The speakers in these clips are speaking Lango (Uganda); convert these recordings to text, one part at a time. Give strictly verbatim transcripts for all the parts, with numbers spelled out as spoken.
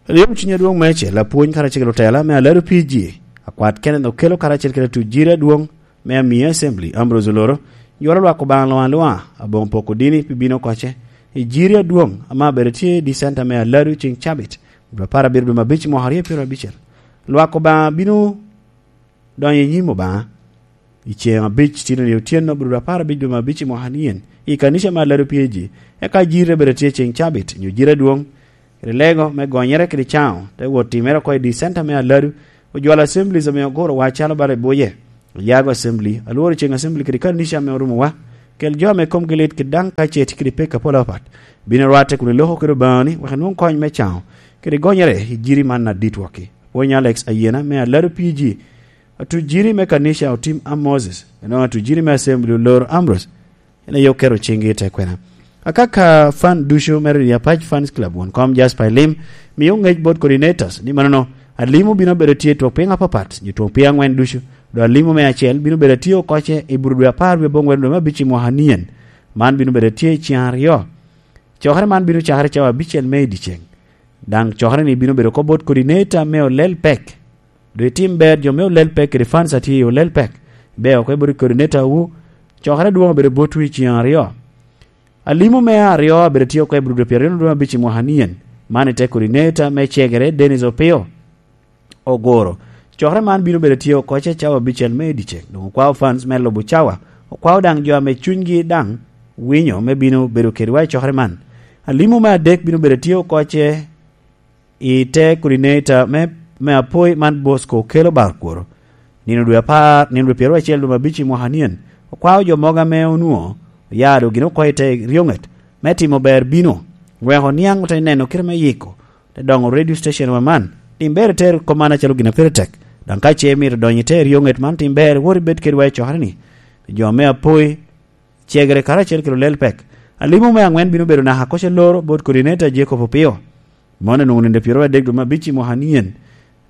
Lyeŋo cuny adwoŋ meicel, apwony karacel kede otela me Aladu P G, akwat Kenneth Okello karacel kede atuc jiri adwoŋ me Amia Assembly, Ambrose Oloro, ywalo lwak Obaŋa luŋ aluŋa, aboŋo poko dini pi bino koce i jiri adwoŋ ame abedo tye i Dicenta me Aladu ceŋ cabit, dwe apar abiro dwe me abic mwaka aryo pyeraryo abicel. Lwak Obaŋa bino donyo i nyim Obaŋa i ceŋ abic, tino ni otyeno, bro apar abic dwe me abic i mwaka nien, i kanica me Aladu P A G, eka jiri te bedo tye ceŋ cabit, nyo jiri adwoŋ, kede lego me gonyere kede caŋo, te wot timere oko i Dicenta me Aladu, ojwalo Assemblies ame oguro wa calo bala i Buye, Oyago Assembly, Alworo Ceŋ Assembly kede kanica ame orumo wa, kel jo ame komgi lit kede daŋ ka ce tye kede pek apol apat, bino rwatte kun iloko kede Obaŋani, wek inwoŋ kony me caŋo, kede gonyere i jiri man adit wokki. Pwony Alex Ayena me Aladu P G, atuc jiri me kanica Otim a Moses, eno atuc jiri me Assembly Olor Ambrose, en aye oketo ciŋgi i te kwena. Akaka fan ducu me Redio Apac Fans Club, won kom Jasper Elim, mio ŋec bot coordinators, ni manono, Alimo bino bedo tye twok piny apapat, nyo twok piny aŋwen ducu, do Alimo me acel bino bedo tye okoce i bur dwe apar wie aboŋwen dwe me abic i mwaka nien. Man bino bedo tye i ceŋ aryo. Cokere man bino cakere cawa abicel me i dyeceŋ. Daŋ cokere ni bino bedo oko bot coordinator me olel pek. Do itim ber jo me olel pek kede fans atye i olel pek. Be oko i bot coordinator wu, cokere dwoŋ obedo botwu i ceŋ aryo. Alimo me aryo abedo tye oko i bur dwe pyeraryo dwe abic i mwaka nien. Man ite coordinator me cegere Dennis Opio. Ogoro. Cokere man bino bedo tye oko ce cawa abicel me i dyeceŋ. Doŋ okwao fans me lubo cawa. Okwao daŋ jo ame cunygi daŋ winyo me bino bedo kedwa i cokere man. Alimo me adek bino bedo tye oko ce i te coordinator me, me apoi man Bosco Okello Barkworo. Nino dwe apar, nino dwe pyeraryo acel dwe me abic i mwaka nien, okwao jo mogo ame onwoŋo oya do gin oko i te ryoŋet me timo ber bino, wek oniaŋ ote neno kite me yiko, te doŋo radio station wa man. Tim ber iter kop man acalo gin a pire tek. Daŋ ka ce imito donyo i te ryoŋet man, tim ber wot ibed kedwa i cokere-ni. Jo me apoi, cegere karacel kede olel pek. Alimo me aŋwen bino bedo naka koc aloro bot coordinator Jacob Opio. Mon onwoŋo nino pyeraryo adek dwe me abic i mwaka nien.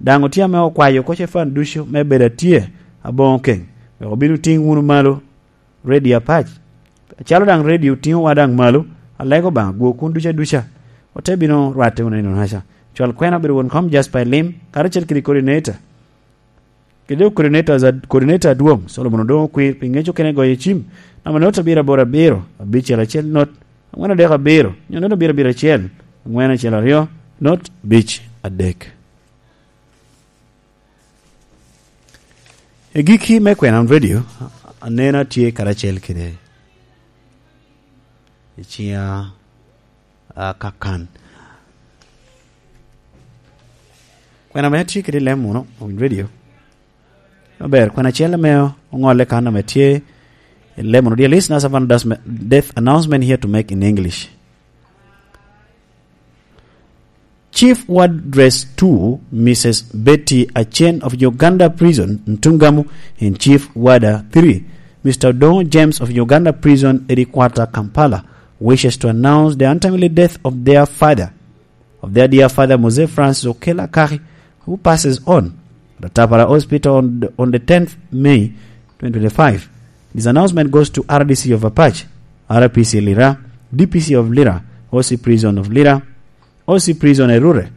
Daŋ otye ame okwayo koc efan ducu me bedo atye aboŋo keŋ, wek obin otiŋ wunu malo redio apac. Acalo daŋ redio otiŋowa daŋ malo, alego Obaŋa gwo kun duca duca. Ote bino rwatte wunu i nonaca. Cwal kwena obedo won kom Jasper Elim, karacel kede coordinator. Kede coordinators ad-, coordinator adwoŋ, Solomon Odoŋo Okwir, pi ŋec okene goyo cim, namba note abiro aboro abiro, abicel acel not, aŋwen adek abiro, nyo not abiro abiro acel, aŋwen acel aryo, not abic adek. I gikki me Kwenan Radio, anena tye karacel kede i ciŋa, a, kakan. Kwena ame atye kede i lem muno, on radio. Aber, kwena acel ame oŋolle kan ame tye i lem muno. Dear listeners, I have an announcement, death announcement here to make in English. Chief Wardress two, Missus Betty Achen of Uganda Prison, Ntungamo, and Chief Warder three, Mister Odongo James of Uganda Prison, Eri Quarter, Kampala, wishes to announce the untimely death of their father, of their dear father, Mose Francis Okello Akaki, who passes on at Atapara Hospital on the, on the tenth May twenty twenty-five. This announcement goes to R D C of Apac, R P C Lira, D P C of Lira, O C Prison of Lira, O C Prison Erure,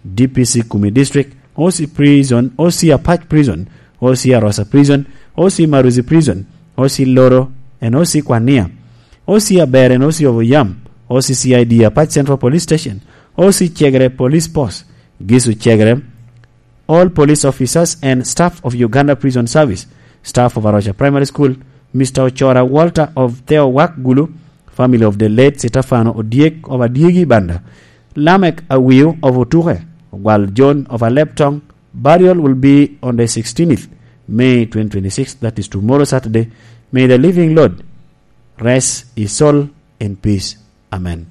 D P C Kumi District, O C Prison, O C Apac Prison, O C Arosa Prison, O C Maruzi Prison, O C Loro and O C Kwania, O C Aber and O C of Oyam, O C C I D Apac Central Police Station, O C Chegre Police Post, Gisu Chegre, all police officers and staff of Uganda Prison Service, staff of Arocha Primary School, Mister Ochora Walter of Theo Wak Gulu, family of the late Stefano Odyek of Adyegi Banda, Lamek Awiu of Otuke, Ogwal John of Aleptong. Burial will be on the sixteenth May twenty twenty-six, that is tomorrow, Saturday. May the living Lord rest his soul in peace. Amen.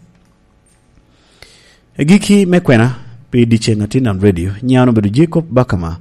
Egikki me kwena pi dyeceŋ a Tinan Radio, nyiŋa obedo Jacob Bakama,